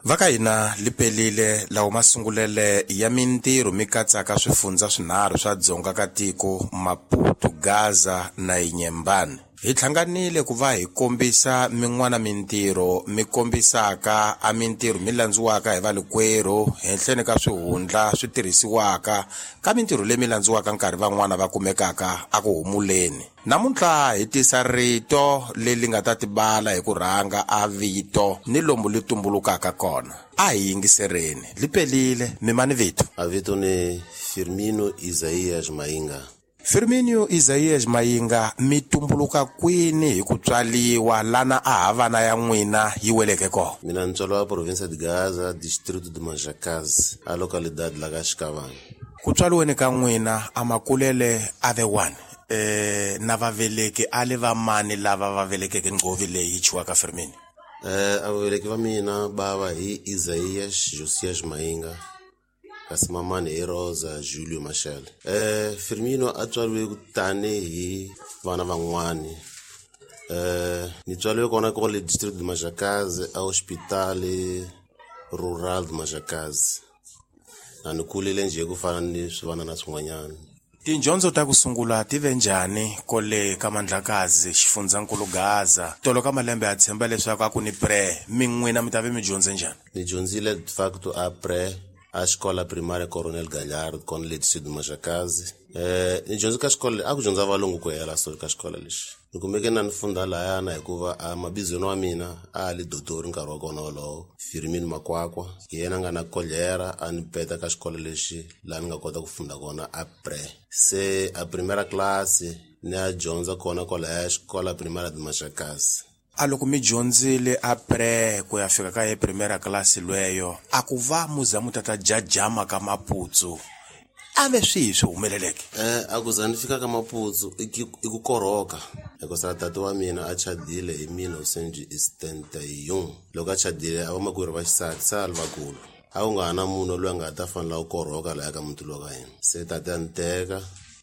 Va ka hina li pelile lawo masungulele ya mintirho mi katsaka swifundza swinharhu swa dzonga ka tiko Maputo, Gaza na Inhambane. Hi hlanganile ku va hi kombisa min'wana mintirho mi kombisaka a mintirho mi landziwaka hi valikwerhu henhleni ka swihundla swi tirhisiwaka ka mintirho leyi mi landziwaka nkarhi van'wana va kumekaka a ku humuleni. Namuntlha hi tisa rito leri nga ta tibala hi ku rhanga a vito ni lomu li tumbulukaka kona. A hi yingisereni, li pelile mi mani vito. A vito ni Firmino Isaías Mainga. Firmino Isaías Mayinga mi tumbuluka kwini hi ku tswaliwa lana a ha vana ya n'wina yi weleke kona? Mina ni tswaliwa província de Gaza, distrito de Manjacaze, a localidade la ka Xikavana. Ku tswaliweni ka n'wina a makulele a ve wani na vaveleki a le va mani lava va velekeke nghovi leyi yi chiwaka Firmino? A vaveleki va mina bava hi Isaías Josias Mayinga, kasi mamani hi Rosa Julio Machel. Firmino a tswariwe tanihi vana van'wani. Ni tswariwe kona kole district de Manjacaze a hospital rural de Manjacaze. Na ni kulile njhe ku fana ni swivana na swin'wanyana. Tindyondzo ta ku sungula ti ve njhani kole ka Mandlakazi xifundzankulu Gaza? Tolo ka malembe ya tshemba leswaku a ku ni pre, mi n'wina mi ta ve mi dyondze njhani? Ni dyondzile de facto a pre a xikola primária Coronel Galhardo kona le distrito de Manjacaze. Ni dyondze ka xikolo a ku dyondza valungu ku hela so ka xikolo lexi. Ni kumeke na ni funda lahayana hikuva a mabizweni wa mina a li dotori nkarhi wa kona wolowo, Firmino Makwakwa. Hi yena a nga na kolera a ni peta ka xikolo lexi laha ni nga kota ku funda kona a pre. Se a primeira classe ni a dyondza kona kwalaya xikola primária de Manjacaze. A loko mi dyondzile a pre ku ya fika ka ye primera class lweyo, a ku va mu za mu tata jajama ka Maputsu, a ve swihi swi humeleleke? A ku za ni fika ka Maputsu i ku korhoka. Hikusa tata wa mina a chadile hi 1971. Loko a chadile a vamakwerhu va xisati se a li vakulu. A ku nga ha na munhu loyi a nga ta fanela ku korhoka lahaya ka muti lowa ka hina. Se tata a ni teka